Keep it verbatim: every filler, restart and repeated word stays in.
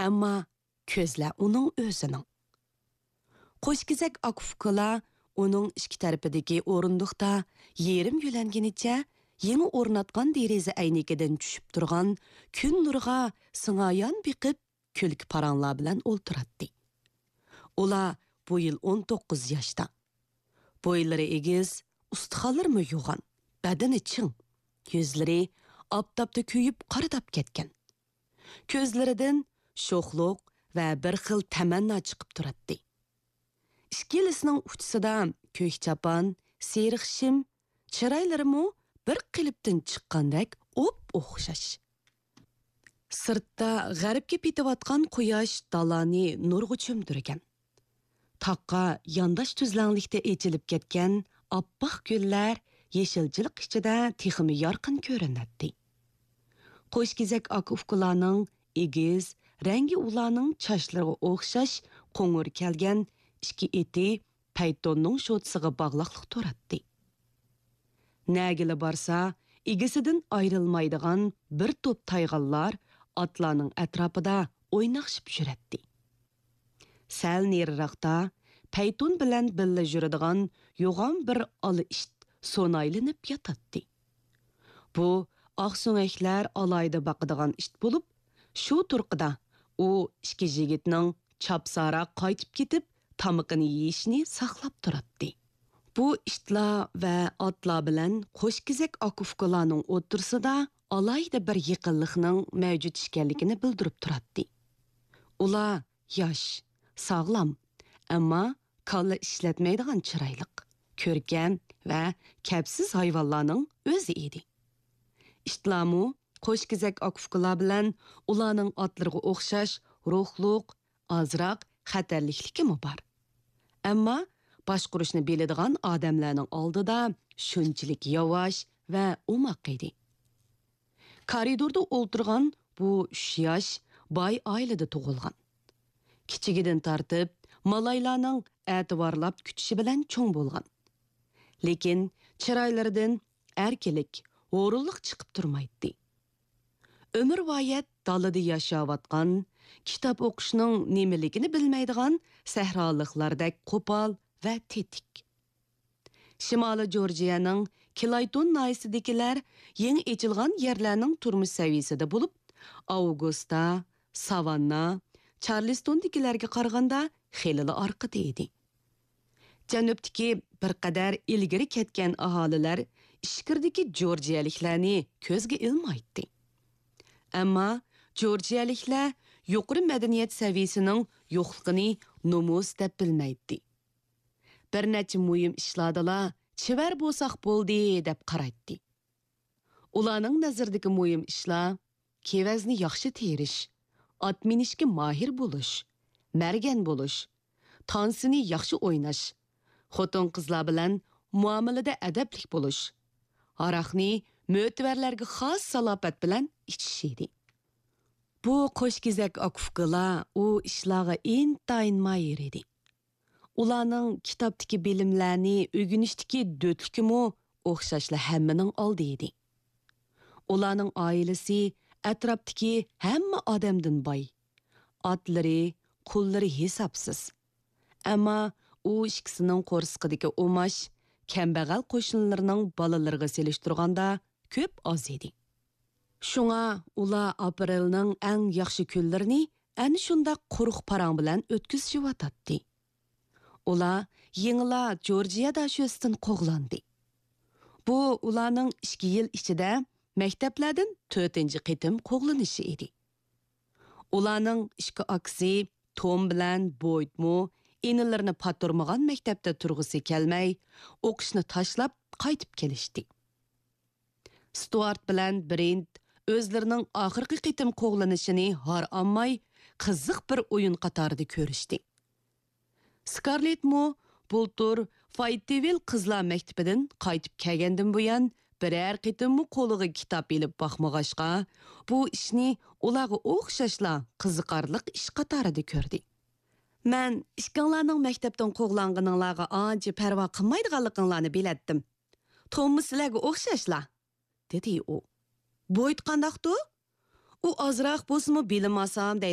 ئەمما كۆزلەر ئۇنىڭ ئۆزىنىڭ. قوشكېزەك ئاكا ئۇكىلار ئۇنىڭ ئىككى تەرىپىدىكى ئورۇندۇقتا يېرىم يۆلەنگىنىچە يېڭى ئورناتقان دېرىزە ئەينىكىدىن چۈشۈپ تۇرغان كۈن نۇرىغا سىڭايان بېقىپ، كۈلكە پاراڭلار بىلەن ئولتۇراتتى. ئۇلار بۇ يىل ئون توققۇز ياشتا. بويلىرى ئېگىز، ئۇستىخانلىرىمۇ يوغان، بەدىنى چىڭ، يۈزلىرى ئاپتاپتا كۆيۈپ قارىداپ كەتكەن. كۆزلىرىدىن شوخلۇق ۋە بىر خىل تەمەننا چىقىپ تۇراتتى. ئىككىلىسىنىڭ ئۇچىسىدا كۆك چاپان، سېرىق شىم، چىرايلىرىمۇ بىر قېلىپتىن چىققاندەك ئوپئوخشاش. سىرتتا غەربكە پېتىۋاتقان قۇياش دالانى نۇرغا چۆمدۈرگەن. تاغقا يانداش تۈزلەڭلىكتە ئېچىلىپ كەتكەن ئاپئاق گۈللەر يېشىلچىلىق ئىچىدە تېخىمۇ يارقىن كۆرۈنەتتى. قوشكېزەك ئاكا-ئۇكىلارنىڭ ئېگىز، رەڭگى ئۇلارنىڭ چاچلىرىغا ئوخشاش قوڭۇر كەلگەن ئىككى ئېتى پەيتوننىڭ شوتىسىغا باغلاقلىق تۇراتتى. نەگىلا بارسا، ئىگىسىدىن ئايرىلمايدىغان بىر توپ تايغانلار ئاتلارنىڭ ئەتراپىدا ئويناقشىپ يۈرەتتى. سەل نېرىراقتا پەيتۇن بىلەن بىللە يۈرىدىغان يوغان بىر ئالا ئىت سونايلىنىپ ياتاتتى. بۇ ئاقسۆڭەكلەر ئالاھىدە باقىدىغان ئىت بولۇپ، شۇ تۇرقىدا ئۇ ئىككى يىگىتنىڭ چاپساراق قايتىپ كېتىپ، تامىقىنى يېيىشىنى ساقلاپ تۇراتتى. بۇ ئىتلار ۋە ئاتلار بىلەن قوشكېزەك ئاكا-ئۇكىلارنىڭ ئوتتۇرىسىدا ئالاھىدە بىر يېقىنلىقنىڭ مەۋجۇت ئىكەنلىكىنى بىلدۈرۈپ تۇراتتى. ئۇلار ياش، ساغلام، ئەمما كاللا ئىشلەتمەيدىغان چىرايلىق، كۆركەم ۋە كەپسىز ھايۋانلارنىڭ ئۆزى ئىدى. ئىتلارمۇ قوشكېزەك ئاكا-ئۇكىلار بىلەن ئۇلارنىڭ ئاتلىرىغا ئوخشاش روھلۇق، ئازراق خەتەرلىكلىكىمۇ بار. ئەمما باشقۇرۇشنى بىلىدىغان ئادەملەرنىڭ ئالدىدا شۇنچىلىك ياۋاش ۋە ئوماق ئىدى. كارىدوردا ئولتۇرغان بۇ ئۈچ ياش باي ئائىلىدە تۇغۇلغان. كىچىكىدىن تارتىپ مالايلارنىڭ ئەتىۋارلاپ كۈتۈشى بىلەن چوڭ بولغان. لېكىن چىرايلىرىدىن ئەركىنلىك، ھۇرۇنلۇق چىقىپ تۇرمايتتى. ئۆمۈرۋايەت دالىدا ياشاۋاتقان، كىتاب ئوقۇشنىڭ نېمىلىكىنى بىلمەيدىغان سەھرالىقلاردەك قوپال ۋە تېتىك. شىمالىي جورجىيەنىڭ كلايتون ناھىيەسىدىكىلەر يېڭى ئېچىلغان يەرلەرنىڭ تۇرمۇش سەۋىيەسىدە بولۇپ، ئاۋگۇستا، ساۋاننا، چارلىستوندىكىلەرگە قارىغاندا خېلىلا ئارقىدا ئىدى. جەنۇبتىكى بىر قەدەر ئىلگىرى كەتكەن ئاھالىلەر ئىچكىرىدىكى جورجىيەلىكلەرنى كۆزگە ئىلمايتتى. ئەمما جورجىيەلىكلەر يۇقىرى مەدەنىيەت سەۋىيەسىنىڭ يوقلۇقىنى نومۇس دەپ بىلمەيتتى. بىر نەچچە مۇھىم ئىشلاردىلا چېۋەر بولساق بولدى دەپ قارايتتى. ئۇلارنىڭ نەزىرىدىكى مۇھىم ئىشلار كېۋەزنى ياخشى تېرىش، ئات مىنىشكە ماھىر بولۇش، مەرگەن بولۇش، تانسىنى ياخشى ئويناش، خوتۇن-قىزلار بىلەن مۇئامىلىدە ئەدەپلىك بولۇش، ھاراقنى مۆتىۋەرلەرگە خاس سالاپەت بىلەن ئىچىش ئىدى. بۇ قوشكېزەك ئاكا-ئۇكىلار ئۇ ئىشلارغا ئىنتايىن ماھىر ئىدى. ئۇلارنىڭ كىتابتىكى بىلىملەرنى ئۆگىنىشتىكى دۆتلۈكىمۇ ئوخشاشلا ھەممىنىڭ ئالدى ئىدى. ئۇلارنىڭ ئائىلىسى ئەتراپتىكى ھەممە ئادەمدىن باي. ئاتلىرى، قۇللىرى ھېسابسىز. ئەمما ئۇ ئىككىسىنىڭ قورسىقىدىكى ئۇماش كەمبەغەل قوشنىلىرىنىڭ بالىلىرىغا سېلىشتۇرغاندا كۆپ ئاز ئىدى. شۇڭا ئۇلار ئاپرېلنىڭ ئەڭ ياخشى كۈنلىرىنى ئەنە شۇنداق قۇرۇق پاراڭ بىلەن ئۆتكۈزۈشۈۋاتاتتى. ئۇلار يېڭىلا جورجىيە داشۆسىدىن قوغلاندى. بۇ ئۇلارنىڭ ئىككى يىل ئىچىدە مەكتەپلەردىن تۆتىنچى قېتىم قوغلىنىشى ئىدى. ئۇلارنىڭ ئىككى ئاكىسى توم بىلەن بويدمۇ ئىنىلىرىنى پاتۇرمىغان مەكتەپتە تۇرغۇسى كەلمەي، ئوقۇشنى تاشلاپ قايتىپ كېلىشتى. ستۇئارت بىلەن برېنت ئۆزلىرىنىڭ ئاخىرقى قېتىم قوغلىنىشىنى ھارئانماي، قىزىق بىر ئويۇن قاتارىدا كۆرۈشتى. سكارلېتمۇ بۇلتۇر فايتىۋىل قىزلار مەكتىپىدىن قايتىپ كەلگەندىن بۇيان، بىرەر قېتىممۇ قولىغا كىتاب ئېلىپ باقمىغاچقا، بۇ ئىشنى ئۇلارغا ئوخشاشلا قىزىقارلىق ئىش قاتارىدا كۆردى. مەن ئىككىڭلارنىڭ مەكتەپتىن قوغلانغىنىڭلارغا ئانچە پەرۋا قىلمايدىغانلىقىڭلارنى بىلەتتىم. توممۇ سىلەرگە ئوخشاشلا، دېدى ئۇ. بويد قانداقتۇ؟ ئۇ ئازراق بولسىمۇ بىلىم ئالسام دەيدىغان